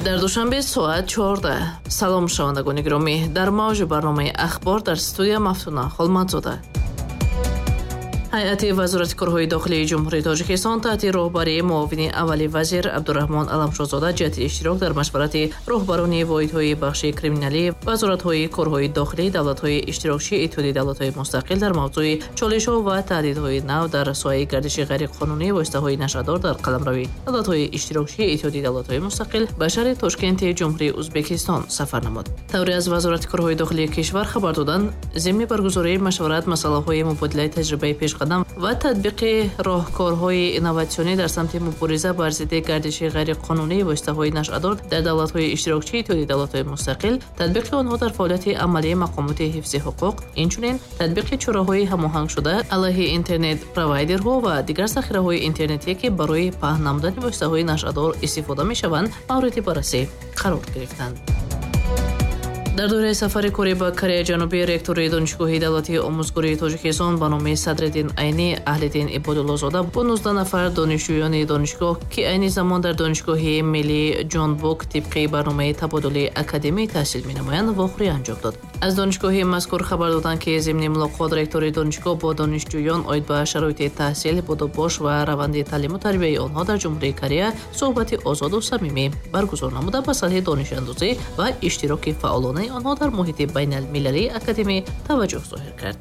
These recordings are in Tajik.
Дар Душанбе соат 14. Салом, шунавандагони гиромӣ. Дар мавҷи барномаи «Ахбор» дар студия Мафтуна Холмадзода. Ҳайати Вазорати корҳои дохилии Ҷумҳурии Тоҷикистон таҳти роҳбарии муовини аввали вазир Абдураҳмон Аламшоҳзода ҷиҳати иштирок дар машварати роҳбарони воҳидҳои бахши криминалӣ вазоратҳои корҳои дохилии давлатҳои иштирокчии Иттиҳоди Давлатҳои Мустақил дар мавзӯи чолишҳо ва таҳдидҳои нав дар соҳаи гардиши ғайриқонунии воситаҳои нашъадор дар қаламрави давлатҳои иштирокчии Иттиҳоди Давлатҳои Мустақил ба шаҳри Тошкенти Ҷумҳурии Ӯзбекистон сафар намуд. Тавре аз Вазорати корҳои дохилии кишвар хабар доданд, зимни баргузории машварат масъалаҳои мубодилаи таҷрибаи пешқадам ва татбиқи роҳкорҳои инноватсионӣ дар самти мубориза бар зидди гардиши ғайриқонунии воситаҳои нашъадор дар давлатҳои иштирокчии Иттиҳоди Давлатҳои Мустақил, татбиқи онҳо дар фаъолияти амалии мақомоти ҳифзи ҳуқуқ, инчунин татбиқи чораҳои ҳамоҳангшуда алайҳи интернет-провайдерҳо ва дигар захираҳои интернетие, ки барои паҳн намудани воситаҳои нашъадор истифода мешаванд, мавриди баррасӣ қарор гирифтанд. Дар доираи сафари корӣ ба Кореяи Ҷанубӣ ректори Донишгоҳи давлатии омӯзгории Тоҷикистон ба номи Садриддин Айнӣ Аҳлиддин Ибодуллозода бо 19 нафар донишҷӯёни донишгоҳ, ки айни замон дар Донишгоҳи миллии Ҷонбук тибқи барномаи табодули академӣ таҳсил менамоянд, вохӯрӣ анҷом дод. Аз донишгоҳи мазкур хабар доданд, ки зимни мулоқот ректори донишгоҳ бо донишҷӯён оид ба шароити таҳсил, будубош ва раванди таълиму тарбияи онҳо дар Ҷумҳурии Корея суҳбати озоду самимӣ баргузор намуда, ба сатҳи донишандозӣ ва иштироки фаъолонаи онҳо дар муҳити байналмилалии академӣ таваҷҷӯҳ зоҳир кард.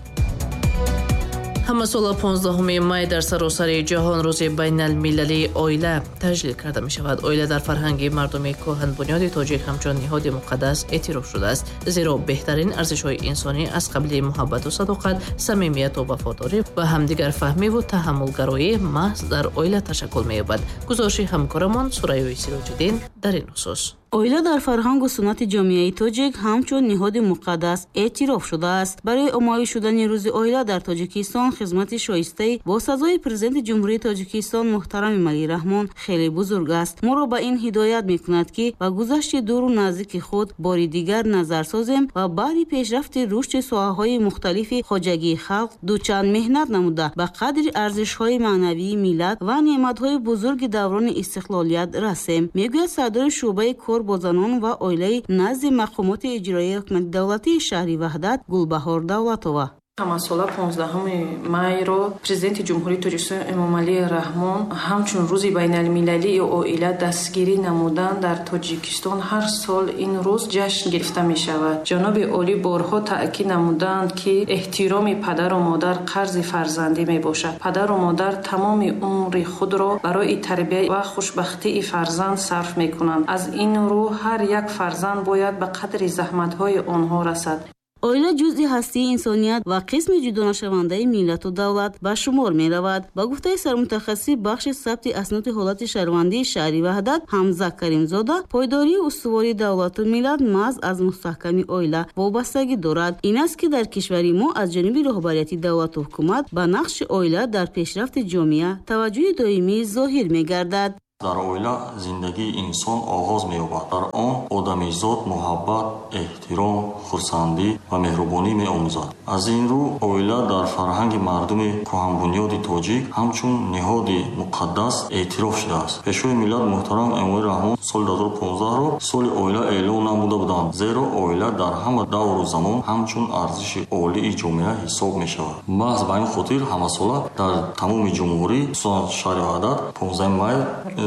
Ҳамасола 15 май дар саросари ҷаҳон Рӯзи байналмилалии оила таҷлил карда мешавад. Оила дар фарҳанги мардуми кӯҳанбунёди тоҷик ҳамчун ниҳоди муқаддас эътироф шудааст, зеро беҳтарин арзишҳои инсонӣ аз қабили муҳаббату садоқат, самимияту вафодорӣ ва ҳамдигарфаҳмиву таҳаммулгароӣ маҳз дар оила ташаккул меёбад. Гузориши ҳамкорамон Сурайёи Сироҷиддин дар ин хусус. Оила дар фарҳангу суннати ҷомеаи тоҷик ҳамчун ниҳоди муқаддас эътироф шудааст. Барои оммавӣ шудани Рӯзи оила дар Тоҷикистон хизмати шоистаи бо сазои Президенти Ҷумҳурии Тоҷикистон муҳтарам Эмомалӣ Раҳмон хеле бузург аст. Моро ба ин ҳидоят мекунад, ки ба гузашти дуру наздики худ бори дигар назар созем ва баъди пешрафти рушди соҳаҳои мухталифи хоҷагии халқ дучанд меҳнат намуда, ба қадри арзишҳои маънавии миллат ва неъматҳои бузурги даврони истиқлолият расем, мегӯяд сардори шӯъбаи кор бо занон ва оилаи назди мақомоти иҷроияи ҳукумати давлатии шаҳри Ваҳдат Гулбаҳор Давлатова. Ҳамасола 15 майро Президенти Ҷумҳурии Тоҷикистон Эмомалӣ Раҳмон ҳамчун Рӯзи байналмилалии оила дастгирӣ намудан, дар Тоҷикистон ҳар сол ин рӯз ҷашн гирифта мешавад. Ҷаноби олӣ борҳо таъкид намуданд, ки эҳтироми падару модар қарзи фарзандӣ мебошад. Падару модар тамоми умри худро барои тарбия ва хушбахтии фарзанд сарф мекунанд. Аз ин рӯ ҳар як фарзанд бояд ба қадри заҳматҳои онҳо расад. Оила ҷузъи ҳастии инсоният ва қисми ҷудонашавандаи миллату давлат ба шумор меравад. Ба гуфтаи сармутахассиси бахши сабти асноди ҳолати шаҳрвандии шаҳри Ваҳдат Ҳамза Каримзода, пойдории устувори давлату миллат маҳз аз мустаҳками оила вобастагӣ дорад. Ин аст, ки дар кишвари мо аз ҷониби роҳбарияти давлату ҳукумат ба нақши оила дар пешрафти ҷомеа таваҷҷӯҳи доимӣ зоҳир мегардад. Дар оила зиндагии инсон оғоз меёбад. Дар он одамизод муҳаббат, эҳтиром, хурсандӣ ва меҳрубонӣ меомӯзад. Аз ин рӯ оила дар фарҳанги мардуми кӯҳанбунёди тоҷик ҳамчун ниҳоди муқаддас эътироф шудааст. Пешвои миллат муҳтарам Эмомалӣ Раҳмон соли 2015-ро соли оила эълон намуда буданд, зеро оила дар ҳама давру замон ҳамчун арзиши олии ҷомеа ҳисоб мешавад. Маҳз ба ин хотир ҳамасола дар тамоми ҷумҳурӣ, хусусан шаҳри Ваҳдат, 15 май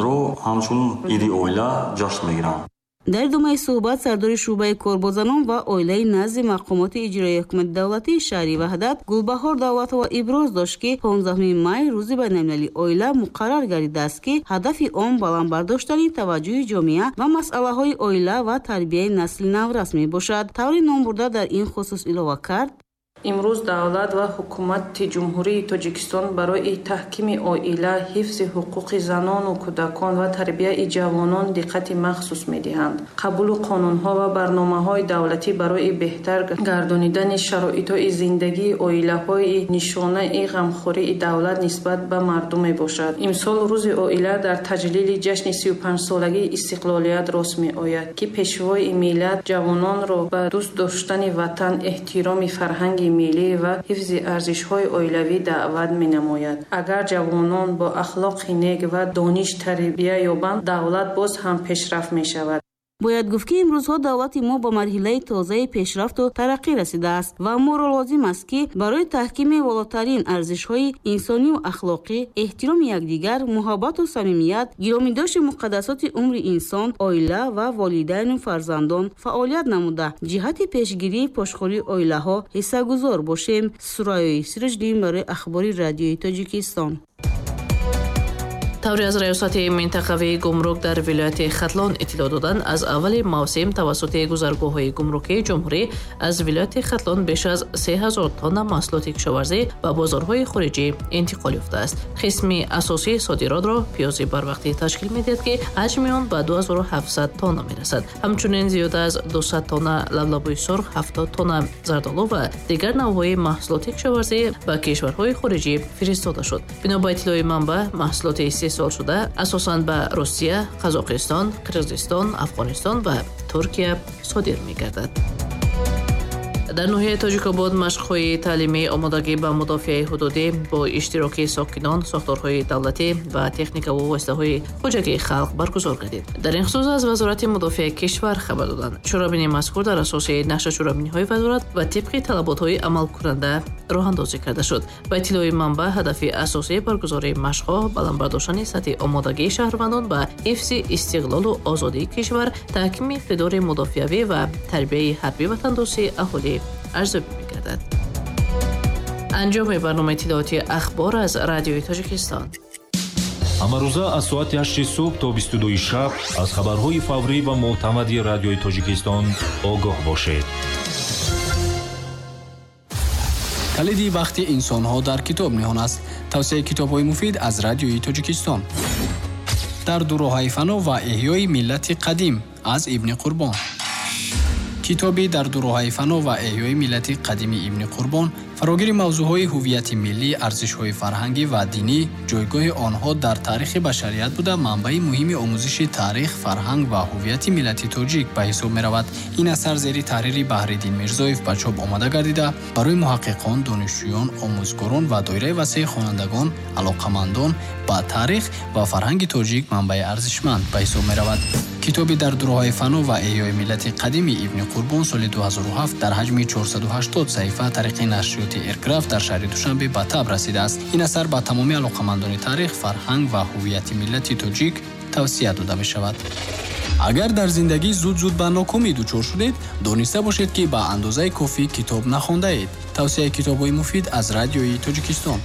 ро ҳамчун иди оила ҷашн мегиранд. Дар идомаи суҳбат сардори шӯъбаи кор бо занон ва оилаи назди мақомоти иҷроияи ҳукумати давлатии шаҳри Ваҳдат Гулбаҳор Давлатова иброз дошт, ки 15 май Рӯзи байналмилалии оила муқаррар гардидааст, ки ҳадафи он баланд бардоштани таваҷҷӯҳи ҷомеа ба масъалаҳои оила ва тарбияи насли наврас мебошад. Таври номбурда дар ин хусус илова кард: Имрӯз давлат ва ҳукумати Ҷумҳурии Тоҷикистон барои таҳкими оила, ҳифзи ҳуқуқи занону кӯдакон ва тарбияи ҷавонон диққати махсус медиҳанд. Қабулу қонунҳо ва барномаҳои давлатӣ барои беҳтар гардонидани шароитҳои зиндагии оилаҳои нишонаи ғамхории давлат нисбат ба мардум мебошад. Имсол Рӯзи оила дар таҷлили ҷашни 35-солагии истиқлолият рост меояд, ки пешвои миллат ҷавононро ба дӯст доштани ватан, эҳтироми фарҳанги миллӣ ва ҳифзи арзишҳои оилавӣ даъват менамояд. Агар ҷавонон бо ахлоқи нек ва дониш тарбия ёбанд, давлат боз ҳам пешрафт мешавад. Бояд гуфт, ки имрӯзҳо давлати мо ба марҳилаи тозаи пешрафту тараққӣ расидааст ва моро лозим аст, ки барои таҳкими волотарин арзишҳои инсонию ахлоқӣ, эҳтироми якдигар, муҳаббату самимият, гиромидошти муқаддасоти умри инсон, оила ва волидайну фарзандон фаъолият намуда, ҷиҳати пешгирии пошхӯрии оилаҳо ҳиссагузор бошем. Сурайёи Сироҷиддин барои Ахбори радиои Тоҷикистон. Тавре аз раёсати минтақавии гумрук дар вилояти Хатлон иттилоъ доданд, аз аввали мавсим тавассути гузаргоҳҳои гумрукии ҷумҳурӣ аз вилояти Хатлон беш аз 3000 тонна маҳсулоти кишоварзӣ ба бозорҳои хориҷӣ интиқол ёфтааст. Қисми асосии содиротро пиёзи барвақтӣ ташкил медиҳад, ки ҳаҷми он ба 2700 тонна мерасад. Ҳамчунин зиёда аз 200 тонна лаблабуи сурх, 70 тонна зардолу ва дигар навъҳои маҳсулоти кишоварзӣ ба кишварҳои хориҷӣ фиристода шуд. Бино ба иттилои манбаъ, маҳсулоти истеҳсол шуда асосан ба Русия, Қазоқистон, Қирғизистон, Афғонистон ва Туркия содир мегардад. Дар ноҳияи Тоҷикобод машқҳои таълимии омодагӣ ба мудофиаи ҳудудӣ бо иштироки сокинон, сохторҳои давлатӣ ва техникаву воситаҳои хоҷагии халқ баргузор гардид. Дар ин хусус аз Вазорати мудофиаи кишвар хабар доданд. Чорабинии мазкур дар асоси нақша чорабиниҳои вазорат ва тибқи талаботҳои амалкунанда роҳандозӣ карда шуд. Ба иттилои манбаъ, ҳадафи асосии баргузории машқҳо баланд бардоштани сатҳи омодагии шаҳрвандон ба ҳифзи истиқлолу озодии кишвар, таҳкими иқтидори мудофиавӣ ва тарбияи ҳарбӣ ватандӯстии аҳолӣ арзёбӣ мегардад. Анҷоми барномаи иттилоотии Ахбор аз радиои Тоҷикистон. Ҳамарӯза аз соати 8 субҳ то 22 шаб аз хабарҳои фаврӣ ва мӯътамади радиои Тоҷикистон огоҳ бошед. Калиди бахти инсонҳо дар китоб ниҳон аст. Тавсияи китобҳои муфид аз радиои Тоҷикистон. Дар дуроҳаи фано ва эҳёи миллати қадим аз Ибни Қурбон. Китоби дар дуроҳаи фано ва эҳёи миллати қадими Ибни Қурбон фарогири мавзӯъҳои ҳуввияти миллӣ, арзишҳои фарҳангӣ ва динӣ, ҷойгоҳи онҳо дар таърихи башарият буда, манбаи муҳими омӯзиши таърих, фарҳанг ва ҳуввияти миллати тоҷик ба ҳисоб меравад. Ин асар зери таҳрири Баҳриддин Мирзоев ба чоп омода гардида, барои муҳаққиқон, донишҷӯён, омӯзгорон ва доираи васеи хонандагон, алоқамандон ба таърих ва фарҳанги тоҷик манбаи арзишманд ба ҳисоб меравад. Китоби дар дуроҳаи фано ва эҳёи миллати қадими Ибни Қурбон соли 2007 дар ҳаҷми 480 саҳифа тариқи нашриёти Эрграф дар шаҳри Душанбе ба таб расидааст. Ин асар ба тамоми алоқамандони таърих, фарҳанг ва ҳуввияти миллати тоҷик тавсия дода мешавад. Агар дар зиндагӣ зуд-зуд ба нокомӣ дучор шудед, дониста бошед, ки ба андозаи кофӣ китоб нахондаед. Тавсияи китобҳои муфид аз радиои Тоҷикистон.